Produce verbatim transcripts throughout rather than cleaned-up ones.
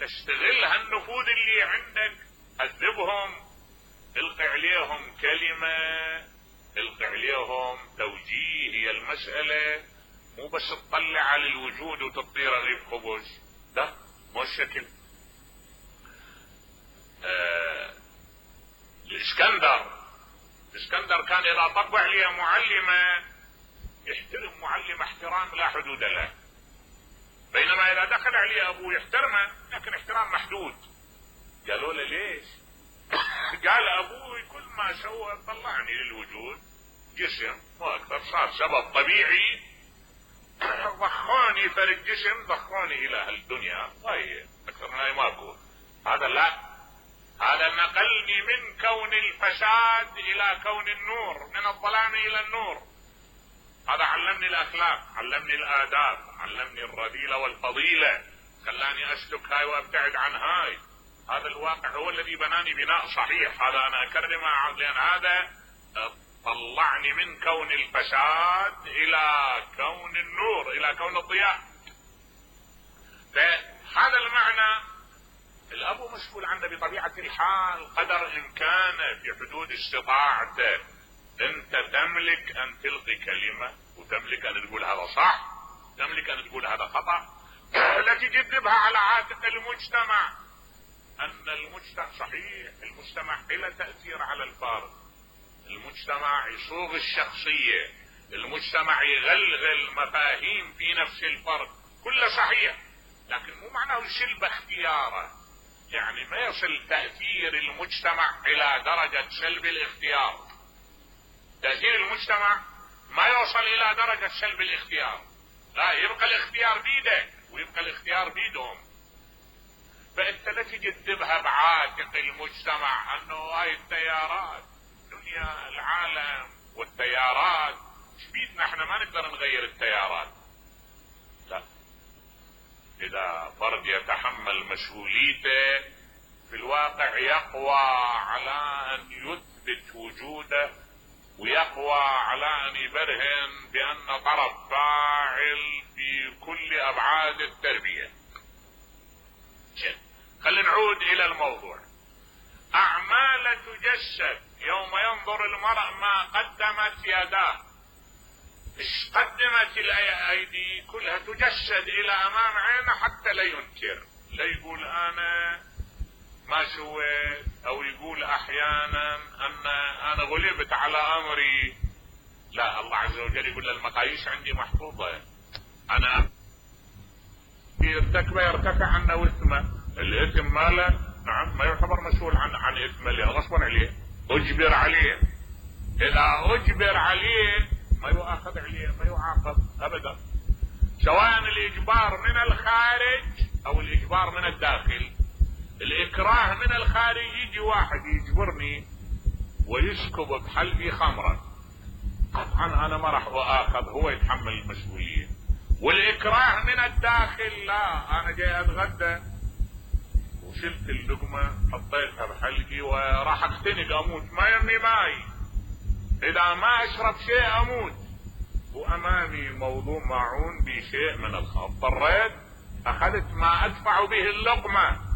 استغل هالنفوذ اللي عندك، هذبهم، القي عليهم كلمة، القي عليهم توجيه. هي المسألة مو بس تطلع على الوجود وتطير رغيف خبز، لا مو الشكل. آه الاسكندر الاسكندر كان اذا طبع عليه معلمة يحترم معلمة احترام لا حدود له، بينما اذا دخل عليه ابوه يحترمه لكن احترام محدود. قالوا له ليش؟ قال ابوي كل ما سوى طلعني للوجود جسم مو اكثر، صار سبب طبيعي ضخوني فرق جسم، ضخوني الى هالدنيا، هاي اكثر من هاي ماكو. هذا لا، هذا نقلني من كون الفساد الى كون النور، من الظلام الى النور. هذا علمني الاخلاق، علمني الاداب، علمني الرذيلة والفضيلة، خلاني اسلك هاي وابتعد عن هاي. هذا الواقع هو الذي بناني بناء صحيح، هذا انا اكرمه لان هذا طلعني من كون الفساد الى كون النور، الى كون الضياء. فهذا المعنى الاب مسؤول عنه بطبيعة الحال قدر امكانه في حدود استطاعته. انت تملك ان تلقي كلمة، وتملك ان تقول هذا صح، تملك ان تقول هذا خطأ، لا تجذبها على عاتق المجتمع. ان المجتمع صحيح، المجتمع له تأثير على الفرد، المجتمع يصوغ الشخصية، المجتمع يغلغل مفاهيم في نفس الفرد، كله صحيح، لكن مو معناه يسلب اختياره. يعني ما يصل تأثير المجتمع الى درجة سلب الاختيار. تأثير المجتمع ما يوصل الى درجة سلب الاختيار، لا، يبقى الاختيار بيدك ويبقى الاختيار بيدهم. فانت لا تجذبها بعاتق المجتمع انه هاي التيارات، دنيا العالم والتيارات، ايش بيدنا احنا ما نقدر نغير التيارات. لا، اذا فرد يتحمل مسؤوليته في الواقع يقوى على ان يثبت وجوده، ويقوى على ان يبرهن بان طرف فاعل في كل ابعاد التربية. خلينا نعود الى الموضوع. اعمال تجسد يوم ينظر المرء ما قدمت يداه. ايش قدمت الايدي؟ كلها تجسد الى امام عينه حتى لا ينكر، لا يقول انا ما سويت، او يقول احيانا ان انا غلبت على امري. لا، الله عز وجل يقول المقاييس عندي محفوظة، انا يرتكب يرتفع عنه اثمه، الاثم ماله نعم ما يعتبر مسؤول عن عن اثمه لانه غصبا عليه، اجبر عليه. اذا اجبر عليه ما يؤاخذ عليه، ما يعاقب ابدا، سواء الاجبار من الخارج او الاجبار من الداخل. الاكراه من الخارج يجي واحد يجبرني ويسكب بحلبي خمرا، طبعا انا ما راح اؤاخذ، هو يتحمل المسؤولية. والاكراه من الداخل لا، انا جاي اتغدى وشلت اللقمة حطيتها بحلقي وراح اختنق اموت، ما يمي ماي، اذا ما اشرب شيء اموت، وامامي موضوع معون بشيء من الخمر، اضطريت اخذت ما ادفع به اللقمة.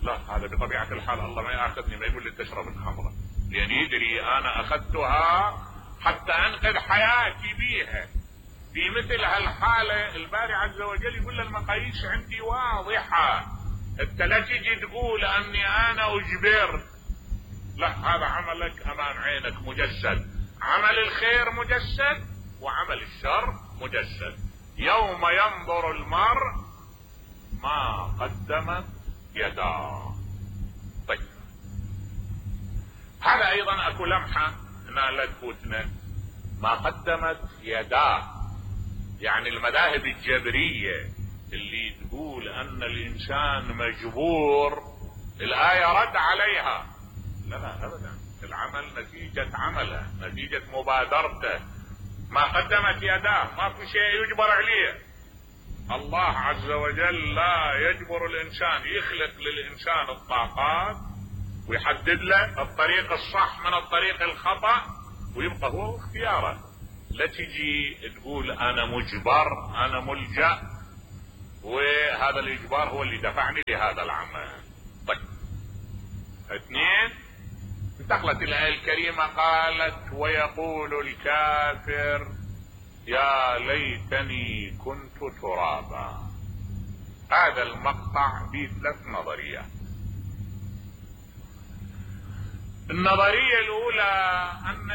لا، هذا بطبيعة الحال الله ما ياخذني، ما يقول لي تشرب الخمرة، لان يدري انا اخذتها حتى انقذ حياتي بيها. في مثل هالحالة الباري عز وجل يقول المقاييس عندي واضحة، انت لا تجي تقول اني انا اجبرت، لا، هذا عملك امام عينك مجسد، عمل الخير مجسد وعمل الشر مجسد. يوم ينظر المرء ما قدمت يداه. طيب، هذا ايضا اكو لمحة هنا لا تفوتنا، ما قدمت يداه، يعني المذاهب الجبرية اللي تقول ان الانسان مجبور، الآية رد عليها. لا لا ابدا، العمل نتيجة عمله، نتيجة مبادرته، ما قدمت يداه، ما في شيء يجبر عليه. الله عز وجل لا يجبر الانسان، يخلق للانسان الطاقات ويحدد له الطريق الصح من الطريق الخطأ، ويبقى هو اختياره. لا تجي تقول انا مجبر، انا ملجأ، وهذا الاجبار هو اللي دفعني لهذا العمل. طيب اثنين، انتقلت الايه الكريمه قالت ويقول الكافر يا ليتني كنت ترابا. هذا المقطع فيه ثلاث نظريات. النظريه الاولى ان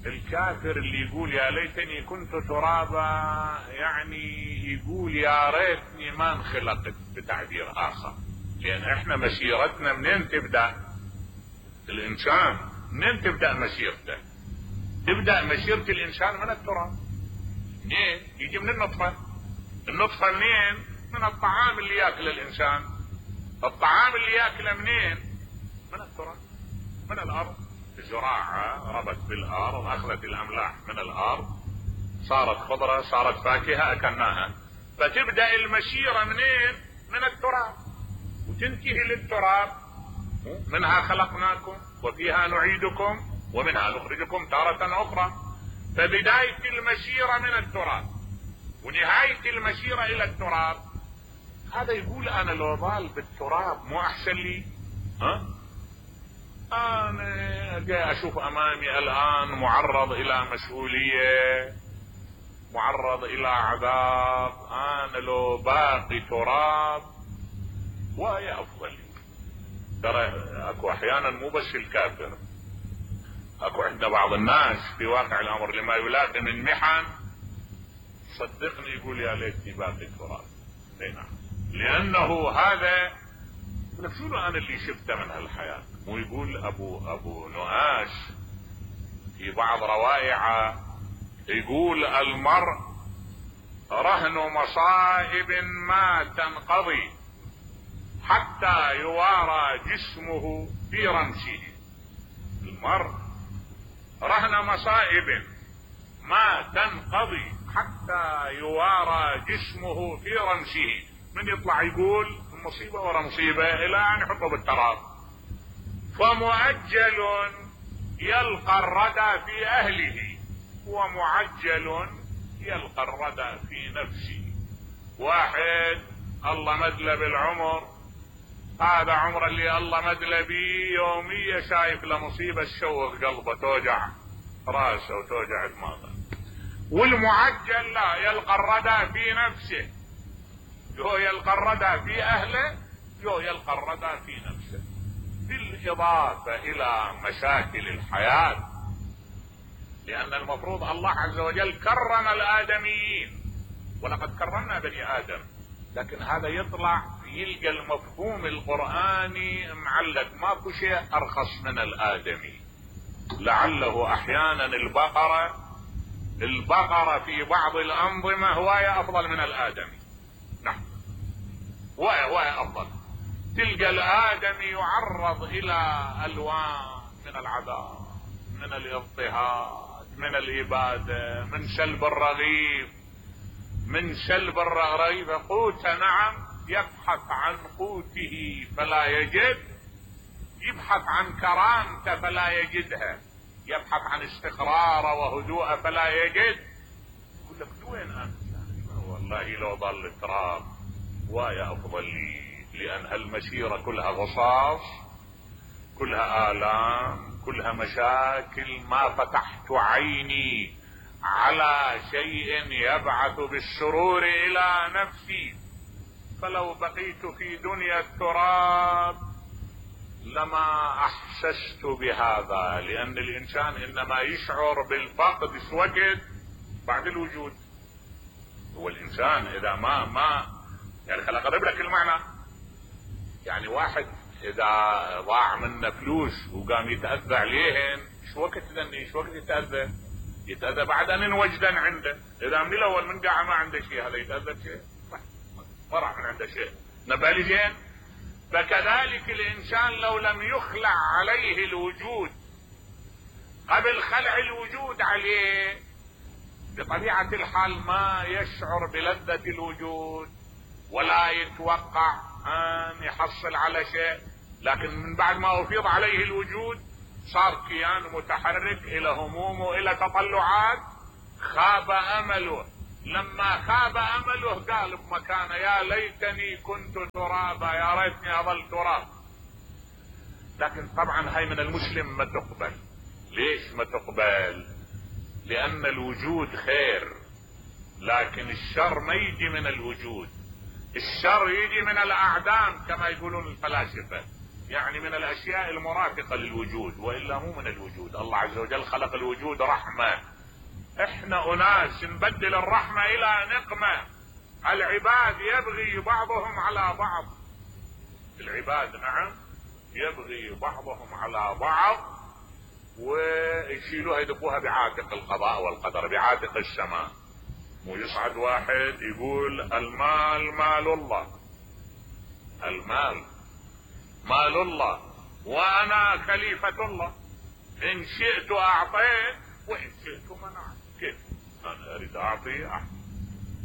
الكافر اللي يقول يا ليتني كنت ترابا يعني يقول يا ريتني ما انخلقت، بتعبير اخر، لان احنا مسيرتنا منين تبدا؟ الانسان منين تبدا مسيرته؟ تبدا مسيرة الانسان من التراب. منين؟ يجي من النطفة. النطفة منين؟ من الطعام اللي ياكل الانسان. الطعام اللي ياكله منين؟ من التراب، من الارض. الزراعة ربت بالارض، اخذت الاملاح من الارض، صارت خضرة، صارت فاكهة، اكلناها. فتبدأ المسيرة منين؟ من التراب، وتنتهي للتراب. منها خلقناكم وفيها نعيدكم ومنها نخرجكم تارة اخرى. فبداية المسيرة من التراب ونهاية المسيرة الى التراب. هذا يقول انا لو ضال بالتراب مو احسن لي؟ ها؟ انا جاي اشوف امامي الان معرض الى مسؤولية، معرض الى عذاب، انا لو باقي تراب وهي افضل. ترى اكو احيانا مو بس الكافر، اكو عندنا بعض الناس في واقع الامر لما يلاقي من محن صدقني يقول يا ليتني باقي تراب. اي نعم، لانه هذا شنو انا اللي شفته من هالحياة. مو يقول ابو ابو نؤاش في بعض روائعه، يقول المرء رهن مصائب ما تنقضي حتى يوارى جسمه في رمسه. المرء رهن مصائب ما تنقضي حتى يوارى جسمه في رمسه. من يطلع يقول مصيبة ورا مصيبة الى ان يحطه بالتراب. فمؤجل يلقى الردى في اهله ومعجل يلقى الردى في نفسه. واحد الله مدله بالعمر، هذا عمر اللي الله مدله بيه يومية شايف لمصيبة تشوق قلبه، توجع راسه وتوجع دماغه. والمعجل لا، يلقى الردى في نفسه. يو يلقى الردى في اهله، يو يلقى الردى في نفسه. بالاضافة الى مشاكل الحياة، لان المفروض الله عز وجل كرم الادميين، ولقد كرمنا بني ادم، لكن هذا يطلع يلقى المفهوم القرآني معلق. ماكو شيء ارخص من الادمي. لعله احيانا البقرة البقرة في بعض الانظمة هواية افضل من الادمي. نعم، هواية هواية افضل. تلقى الادمي يعرض الى الوان من العذاب، من الاضطهاد، من الابادة، من سلب الرغيف، من سلب الرغيف قوت. نعم، يبحث عن قوته فلا يجد، يبحث عن كرامته فلا يجدها، يبحث عن استقراره وهدوءه فلا يجد. يقول لك وين انت؟ والله لو ضل تراب ويا افضل لي، لان هالمسيرة كلها غصاص، كلها آلام، كلها مشاكل. ما فتحت عيني على شيء يبعث بالسرور الى نفسي. فلو بقيت في دنيا التراب لما احسست بهذا، لان الانسان انما يشعر بالفقد في وقت بعد الوجود. هو الانسان اذا ما ما يعني خل اقرب لك المعنى. يعني واحد اذا ضاع منه فلوس وقام يتأذى عليهن، شو وقت ذني شو وقت يتأذى؟ يتأذى بعد ان وجدا عنده. اذا من الاول من قاعد ما عنده شيء، هذا يتأذى شيء؟ ما راح من عنده شيء. نبالي زين. فكذلك الانسان لو لم يخلع عليه الوجود قبل خلع الوجود عليه، بطبيعة الحال ما يشعر بلذة الوجود ولا يتوقع ان يحصل على شيء. لكن من بعد ما افيض عليه الوجود صار كيان متحرك الى هموم والى تطلعات، خاب امله لما خاب امله قال بمكانه يا ليتني كنت ترابا، يا ريتني اظل تراب. لكن طبعا هاي من المسلم ما تقبل. ليش ما تقبل؟ لان الوجود خير، لكن الشر ما يجي من الوجود، الشر يجي من الاعدام كما يقولون الفلاسفة، يعني من الاشياء المرافقة للوجود، والا مو من الوجود. الله عز وجل خلق الوجود رحمة، احنا اناس نبدل الرحمة الى نقمة. العباد يبغي بعضهم على بعض، العباد نعم يبغي بعضهم على بعض، ويشيلوها يدقوها بعاتق القضاء والقدر، بعاتق السماء. مو يصعد واحد يقول المال مال الله، المال مال الله وانا خليفة الله، ان شئت اعطيت وان شئت منعت. كيف انا اريد اعطي احد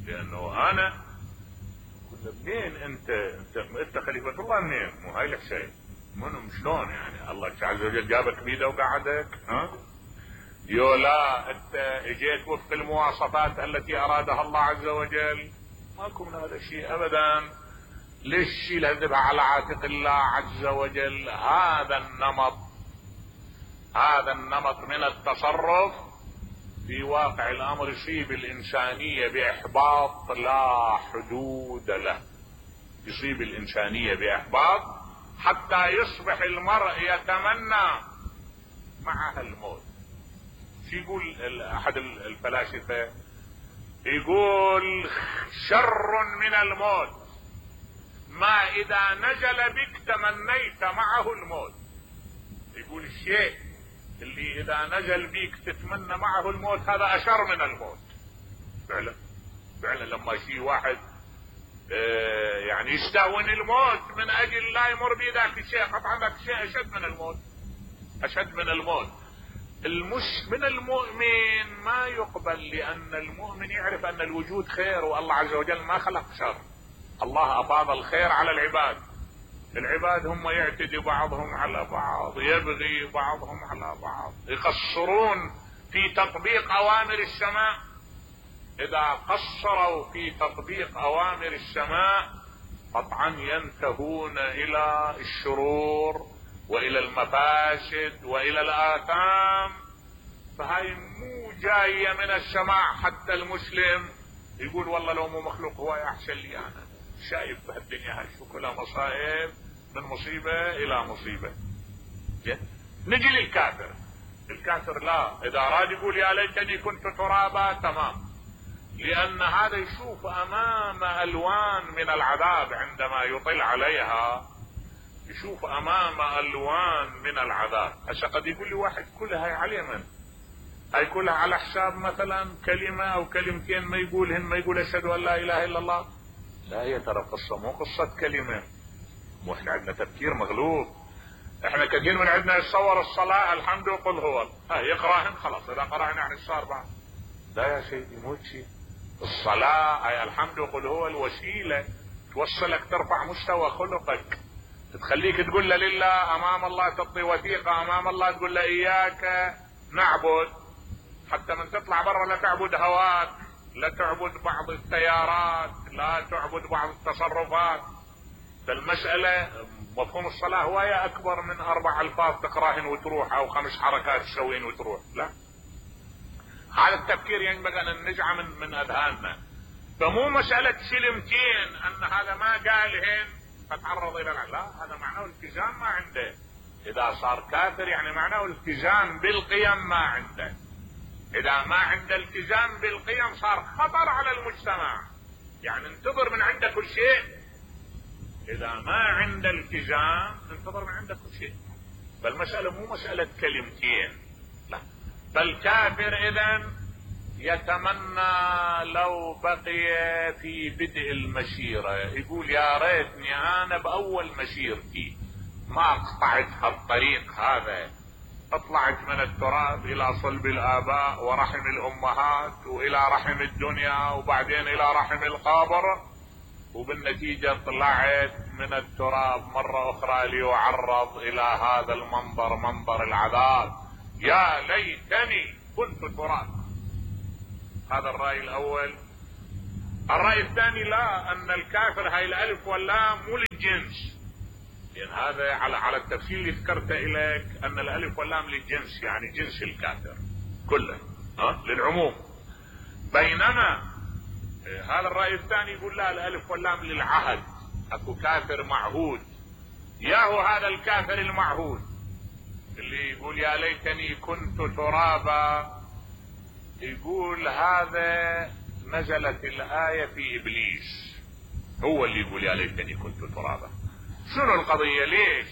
لانه انا كنا منين انت انت انت خليفة الله منين؟ مو هاي الحسين منو شلون يعني؟ الله عز وجل جابك بيده وقعدك ها؟ يو لا انت اجيت وفق المواصفات التي ارادها الله عز وجل. ماكو من هذا الشيء ابدا. ليش شيل هذبها على عاتق الله عز وجل؟ هذا النمط هذا النمط من التصرف في واقع الامر يصيب الانسانية باحباط لا حدود له، يصيب الانسانية باحباط حتى يصبح المرء يتمنى معها الموت. شو يقول احد الفلاسفة؟ يقول شر من الموت ما اذا نزل بك تمنيت معه الموت. يقول الشيء اللي اذا نزل بيك تتمنى معه الموت هذا اشر من الموت. فعلا فعلا لما شيء واحد اه يعني يستهون الموت من اجل لا يمر بذاك الشيء، قطعا ذاك الشيء اشد من الموت، اشد من الموت. المش من المؤمن ما يقبل، لان المؤمن يعرف ان الوجود خير والله عز وجل ما خلق شر. الله افاض الخير على العباد، العباد هم يعتدي بعضهم على بعض، يبغي بعضهم على بعض، يقصرون في تطبيق اوامر السماء. اذا قصروا في تطبيق اوامر السماء قطعا ينتهون الى الشرور والى المفاسد والى الاثام. فهاي مو جاية من السماء حتى المسلم يقول والله لو مو مخلوق هو احسن لي. انا شايف بهالدنيا هاي شو كلها مصائب، من مصيبة الى مصيبة. نجي للكافر. الكافر لا، اذا اراد يقول يا ليتني كنت ترابا تمام، لان هذا يشوف امام الوان من العذاب عندما يطل عليها، يشوف امام الوان من العذاب. هسه قد يقول لي واحد كلها هاي على من؟ هاي كلها على حساب مثلا كلمة او كلمتين ما يقولهن، ما يقول اشهد ان لا اله الا الله. لا، هي ترى قصة مو قصة كلمة. مو احنا عندنا تفكير مغلوط. احنا كثير من عندنا يتصور الصلاة الحمد وقل هو، ها يقراهن خلاص، اذا قراهن يعني صار بعد. لا يا سيدي مو شيء. الصلاة هي الحمد وقل هو الوسيلة توصلك ترفع مستوى خلقك، تخليك تقول له لله امام الله، تعطي وثيقة امام الله تقول له اياك نعبد، حتى من تطلع برا لا تعبد هواك، لا تعبد بعض التيارات، لا تعبد بعض التصرفات. فالمسألة مفهوم الصلاة هواية اكبر من اربع الفاظ تقراهن وتروح او خمس حركات تسوين وتروح. لا، هذا التفكير ينبغي ان ننزعه من, من اذهاننا. فمو مسألة سلمتين ان هذا ما قالهن فتعرض الى العذاب، لا، هذا معناه التزام ما عنده. اذا صار كافر يعني معناه التزام بالقيم ما عنده. اذا ما عنده التزام بالقيم صار خطر على المجتمع، يعني انتظر من عنده كل شيء. اذا ما عنده التزام انتظر من عنده كل شيء. فالمسألة مو مسألة كلمتين، لا. فالكافر اذا يتمنى لو بقي في بدء المسيرة، يقول يا ريتني انا باول مسيرتي ما قطعت هالطريق هذا، اطلعت من التراب الى صلب الاباء ورحم الامهات والى رحم الدنيا وبعدين الى رحم القبر، وبالنتيجة طلعت من التراب مرة اخرى ليعرض الى هذا المنظر، منظر العذاب. يا ليتني كنت تراب. هذا الرأي الاول الرأي الثاني لا، ان الكافر هاي الالف واللام مو للجنس، لان هذا على على التفسير اللي ذكرته اليك ان الالف واللام للجنس، يعني جنس الكافر كله، ها للعموم. بينما هذا الرأي الثاني يقول لا، الالف واللام للعهد، اكو كافر معهود، ياهو هذا الكافر المعهود اللي يقول يا ليتني كنت ترابا، يقول هذا نزلت الآية في إبليس، هو اللي يقول يا ليتني كنت ترابا. شنو القضية؟ ليش؟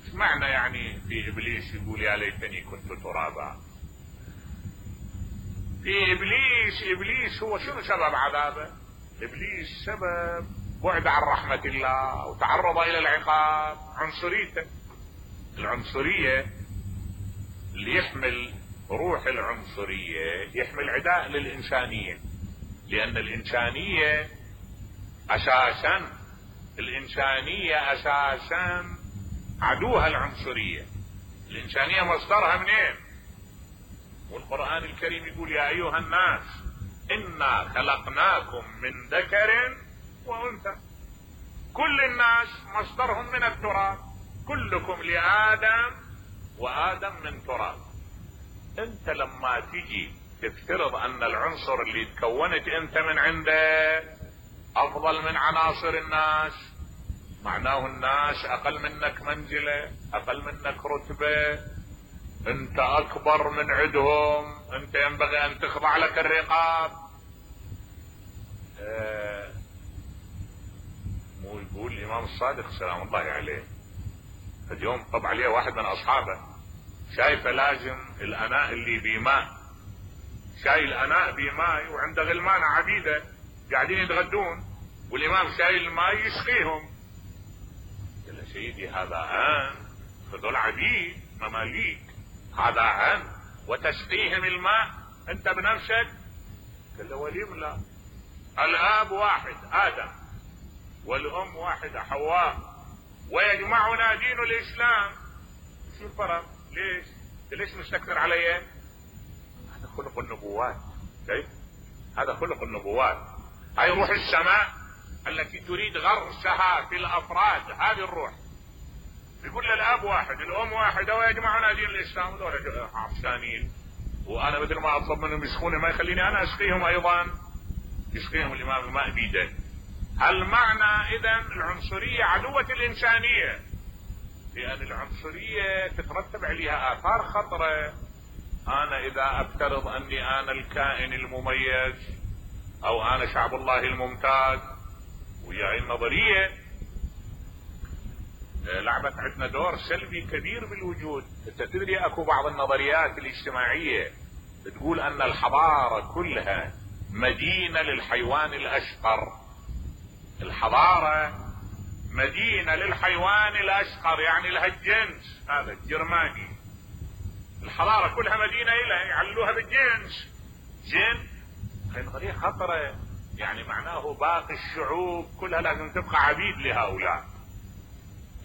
ايش معنى يعني في إبليس يقول يا ليتني كنت ترابا؟ في إبليس، إبليس هو شنو سبب عذابه؟ إبليس سبب بعد عن رحمة الله وتعرض إلى العقاب، عنصريته. العنصرية اللي يحمل روح العنصرية يحمل عداء للإنسانية، لأن الإنسانية أساسا الإنسانية أساسا عدوها العنصرية. الإنسانية مصدرها منين؟ والقرآن الكريم يقول يا أيها الناس إنا خلقناكم من ذكر وأنثى. كل الناس مصدرهم من التراب، كلكم لآدم وآدم من تراب. انت لما تجي تفترض ان العنصر اللي تكونت انت من عنده افضل من عناصر الناس، معناه الناس اقل منك منزلة، اقل منك رتبة، انت اكبر من عندهم، انت ينبغي ان تخضع لك الرقاب. اه مو يقول الامام الصادق سلام الله عليه، اليوم طبع عليه واحد من اصحابه شايفه لازم الاناء اللي بماء، شايل اناء بماء وعنده غلمان عبيده قاعدين يتغدون، والامام شايل الماء يسقيهم. قال له سيدي هذا ان، هذول عبيد مماليك، هذا ان وتسقيهم الماء انت بنفسك؟ قال له ولم لا، الاب واحد آدم والام واحدة حواء، ويجمعنا دين الاسلام. شو الفرق؟ ليش؟ ليش مستكثر علي؟ هذا خلق النبوات، كيف؟ هذا خلق النبوات. هاي روح السماء التي تريد غرسها في الافراد، هذه الروح. يقول الاب واحد، الام واحده، ويجمعنا دين الاسلام. دول عطشانين، وانا مثل ما اطلب منهم يسقوني ما يخليني انا اسقيهم ايضا، يسقيهم الامام الماء بيده. هل معنى اذا العنصريه عدوة الانسانيه؟ لأن العنصرية تترتب عليها آثار خطرة. أنا إذا أفترض أني أنا الكائن المميز أو أنا شعب الله الممتاز، وياي النظرية لعبت عندنا دور سلبي كبير بالوجود. أنت تدري أكو بعض النظريات الاجتماعية بتقول أن الحضارة كلها مدينة للحيوان الأشقر. الحضارة مدينة للحيوان الاشقر، يعني لها الجنس هذا الجرماني. الحضارة كلها مدينة لها، يعلوها بالجنس. جن هاي نظرية خطرة، يعني معناه باقي الشعوب كلها لازم تبقى عبيد لهؤلاء.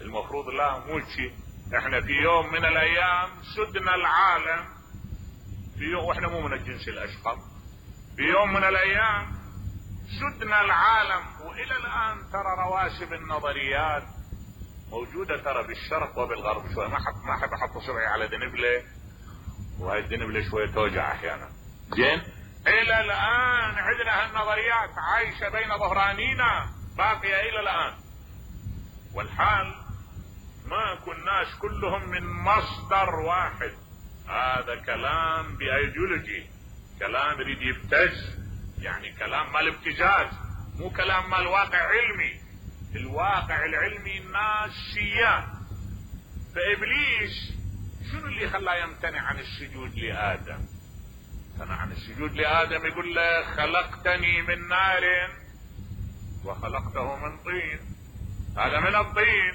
المفروض لا، مو شيء. احنا في يوم من الايام سدنا العالم، في يوم واحنا مو من الجنس الاشقر، في يوم من الايام سدنا العالم. والى الان ترى رواسب النظريات موجودة ترى بالشرق وبالغرب. شوي ما حط ما احب احط صبعي على دنبلة، وهاي الدنبلة شوية توجع احيانا. زين، الى الان عندنا هالنظريات عايشة بين ظهرانينا، باقية الى الان. والحال ما كناش كلهم من مصدر واحد. هذا كلام بايديولوجي، كلام يريد يبتز، يعني كلام مال ابتزاز، مو كلام مال واقع علمي. الواقع العلمي الناس سيان. فابليس شنو اللي خلاه يمتنع عن السجود لادم؟ امتنع عن السجود لادم، يقول له خلقتني من نار وخلقته من طين. هذا من الطين،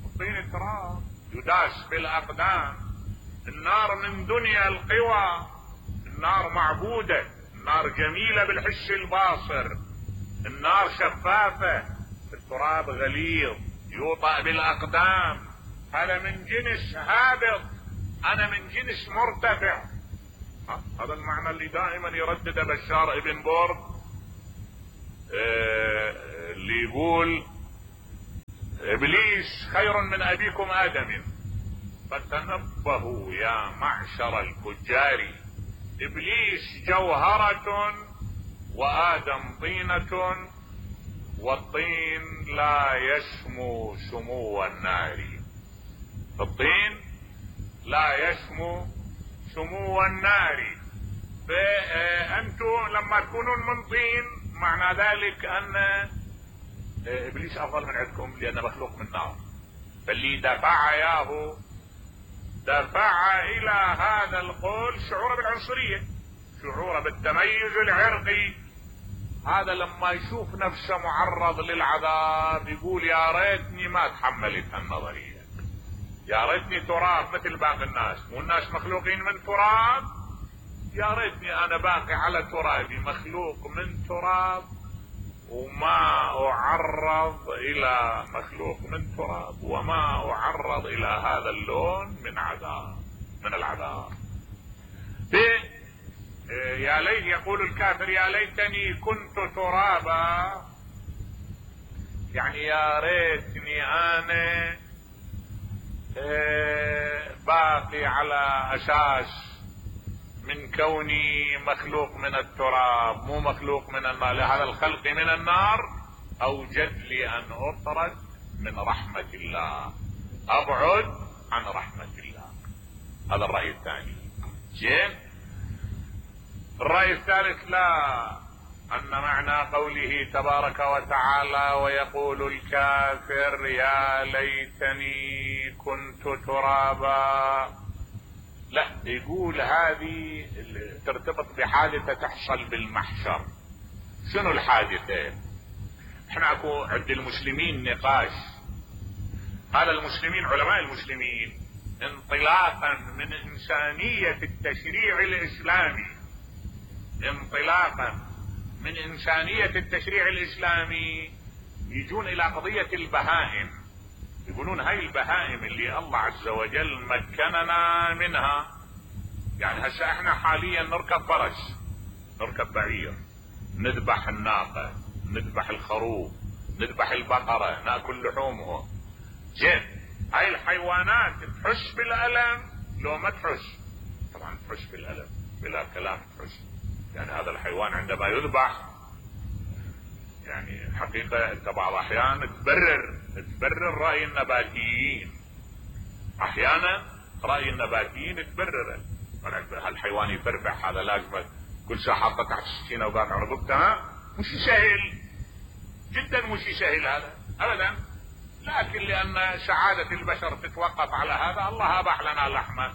الطين تراب يداس بالاقدام. النار من دنيا القوى، النار معبودة، النار جميلة بالحس الباصر، النار شفافة، التراب غليظ يوطأ بالاقدام. هذا من جنس هابط، انا من جنس مرتفع. هذا المعنى اللي دائما يردد بشار ابن برد اللي يقول ابليس خير من ابيكم ادم، فتنبهوا يا معشر الفجار، ابليس جوهرة وادم طينة، والطين لا يشمو سمو النار. الطين لا يشمو سمو النار. فانتم لما تكونون من طين معنى ذلك ان ابليس افضل من عندكم لانه مخلوق من نار. فاللي دفع اياه دفع الى هذا القول شعوره بالعنصرية، شعوره بالتميز العرقي. هذا لما يشوف نفسه معرض للعذاب يقول يا ريتني ما تحملت هالنظرية، يا ريتني تراب مثل باقي الناس، والناس مخلوقين من تراب، يا ريتني انا باقي على ترابي مخلوق من تراب وما اعرض الى مخلوق من تراب، وما اعرض الى هذا اللون من عذاب من العذاب. يا ليت يقول الكافر يا ليتني كنت ترابا، يعني يا ريتني انا باقي على اساس من كوني مخلوق من التراب مو مخلوق من النار، لهذا الخلق من النار اوجد لي ان اطرد من رحمة الله، ابعد عن رحمة الله. هذا الرأي الثاني. زين. الرأي الثالث لا، ان معنى قوله تبارك وتعالى ويقول الكافر يا ليتني كنت ترابا، لا، يقول هذه ترتبط بحادثة تحصل بالمحشر. شنو الحادثة؟ احنا اكو عند المسلمين نقاش، هذا المسلمين علماء المسلمين انطلاقا من انسانية التشريع الاسلامي، انطلاقا من انسانية التشريع الاسلامي يجون الى قضية البهائم، يقولون هاي البهائم اللي الله عز وجل مكننا منها، يعني هسه احنا حاليا نركب فرس، نركب بعير، نذبح الناقة، نذبح الخروف، نذبح البقرة، ناكل لحومهم. زين، هاي الحيوانات تحس بالألم لو ما تحس؟ طبعا تحس بالألم بلا كلام تحس. يعني هذا الحيوان عندما يذبح يعني حقيقة انت بعض احيان تبرر تبرر رأي النباتيين، احيانا رأي النباتيين تبرره، هالحيوان يفرفع هذا لازم كل ساعة حاطه تحت السكينة وباقي على رقبتها، مش سهل جدا، مش سهل هذا ابدا، لكن لان سعادة البشر تتوقف على هذا الله اباح لنا لحمه.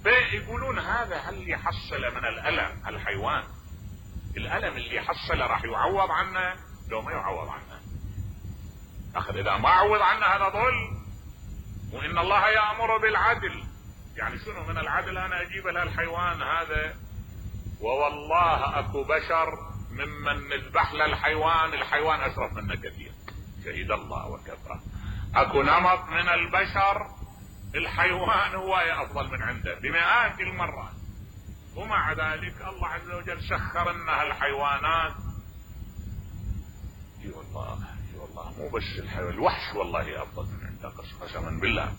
فيقولون هذا هل يحصل من الالم الحيوان، الالم اللي يحصل راح يعوض عنه لو ما يعوض عنه؟ اخذ اذا ما عوض عنه هذا ظلم. وان الله يأمر بالعدل، يعني شنو من العدل انا اجيب لها الحيوان هذا ووالله اكو بشر ممن نذبح له الحيوان، الحيوان اشرف منه كثير، شهد الله وكفى. اكو نمط من البشر الحيوان هو افضل من عنده بمئات المرات، ومع ذلك الله عز وجل سخر لنا الحيوانات. اي والله اي والله مو بس الحيوان، الوحش والله افضل من عنده قسما بالله.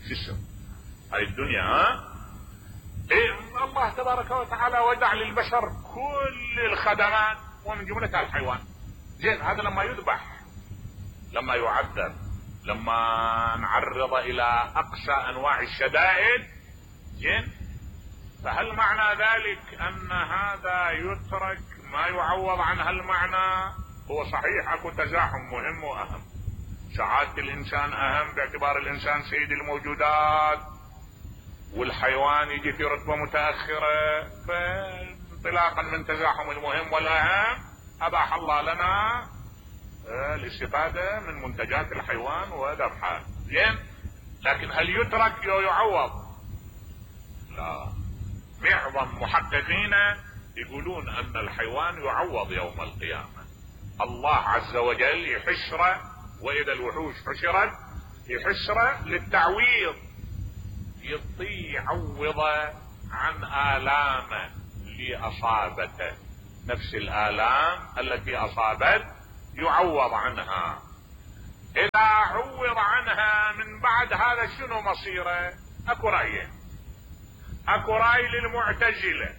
شو اسم هاي الدنيا؟ ها إيه الله تبارك وتعالى ودع للبشر كل الخدمات ومن جملتها الحيوان. زين، هذا لما يذبح، لما يعذب، لما نعرض الى اقصى انواع الشدائد، زين، فهل معنى ذلك ان هذا يترك ما يعوض عن هالمعنى؟ هو صحيح اكو تزاحم مهم واهم، سعادة الانسان اهم باعتبار الانسان سيد الموجودات والحيوان يجي في رتبة متأخرة، فانطلاقا من تزاحم المهم والاهم اباح الله لنا الاستفادة من منتجات الحيوان وذبحها. زين، لكن هل يترك او يعوض؟ لا، معظم محققين يقولون ان الحيوان يعوض يوم القيامة. الله عز وجل يحشره، واذا الوحوش حشرت يحشره للتعويض، يعوض عن آلامه اللي اصابته نفس الآلام التي أصابت يعوض عنها. إذا عوض عنها من بعد هذا شنو مصيره؟ أكو رأيين. أكو رأي للمعتزلة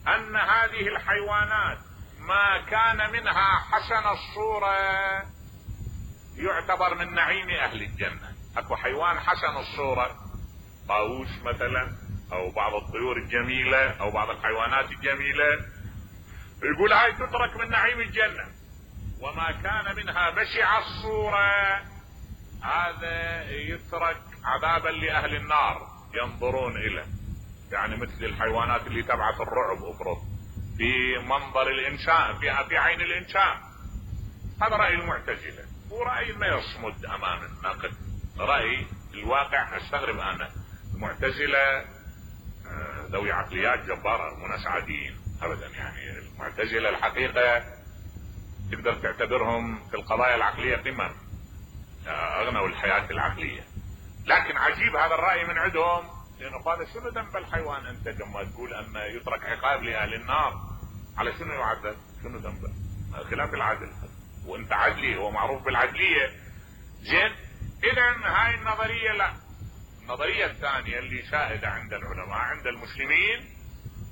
أن هذه الحيوانات ما كان منها حسن الصورة يعتبر من نعيم أهل الجنة. أكو حيوان حسن الصورة، طاووس مثلا، أو بعض الطيور الجميلة، أو بعض الحيوانات الجميلة، يقول هاي تترك من نعيم الجنة. وما كان منها بشع الصورة هذا يترك عذابا لأهل النار ينظرون إليه، يعني مثل الحيوانات اللي تبعث الرعب افرض في منظر الإنسان، في في عين الإنسان. هذا رأي المعتزلة، ورأي ما يصمد أمام النقد. رأي الواقع استغرب أنا، المعتزلة ذوي عقليات جبارة مو ناس عاديين أبدا. يعني المعتزلة الحقيقة تقدر تعتبرهم في القضايا العقلية قمم، أغنوا الحياة العقلية. لكن عجيب هذا الرأي من عندهم، لأنه قال شنو ذنب الحيوان أنت لما تقول أن يترك عقاب لأهل النار؟ على شنو يعذب؟ شنو ذنبه؟ خلاف العدل، وأنت عدلي، هو معروف بالعدلية. زين، إذا هاي النظرية لا. النظرية الثانية اللي شائدة عند العلماء عند المسلمين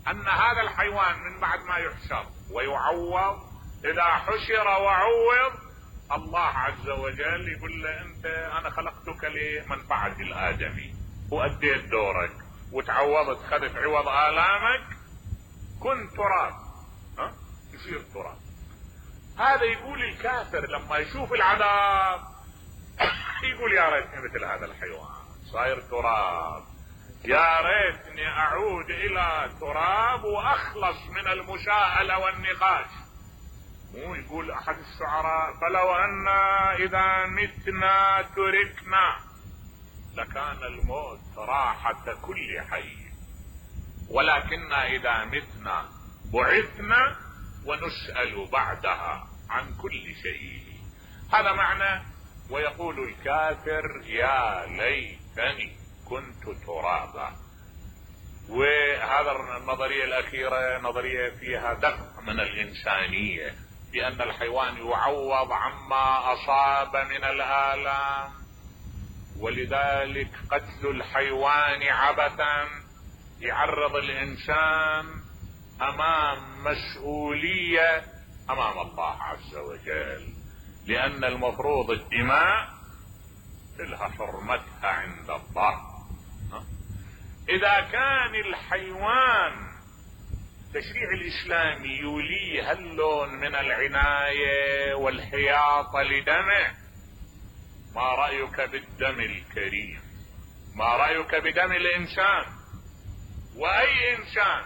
أن هذا الحيوان من بعد ما يحشر ويعوض، إذا حشر وعوض الله عز وجل يقول له أنت أنا خلقتك لمنفعة الآدمي وأديت دورك وتعوضت، خذت عوض آلامك، كن تراب، ها يصير تراب. هذا يقول الكافر لما يشوف العذاب يقول يا ريتني مثل هذا الحيوان صاير تراب، يا ريتني أعود إلى تراب وأخلص من المشاءلة والنقاش. مو يقول أحد الشعراء فلو أن إذا متنا تركنا لكان الموت راحة كل حي، ولكن إذا متنا بعثنا ونسأل بعدها عن كل شيء. هذا معنى. ويقول الكافر يا ليتني كنت ترابا. وهذا النظرية الأخيرة نظرية فيها دفع من الإنسانية، بأن الحيوان يعوض عما أصاب من الآلام، ولذلك قتل الحيوان عبثا يعرض الإنسان أمام مسؤولية أمام الله عز وجل، لأن المفروض الدماء لها حرمتها عند الله. إذا كان الحيوان التشريع الإسلامي يوليه هاللون من العناية والحياطة لدمه، ما رأيك بالدم الكريم؟ ما رأيك بدم الإنسان؟ وأي إنسان؟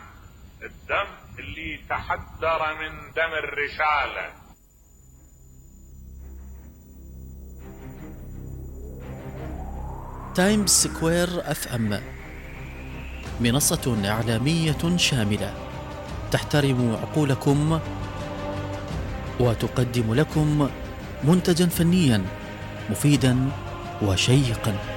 الدم اللي تحدر من دم الرسالة. تايمز سكوير اف ام منصة إعلامية شاملة تحترم عقولكم وتقدم لكم منتجا فنيا مفيدا وشيقا.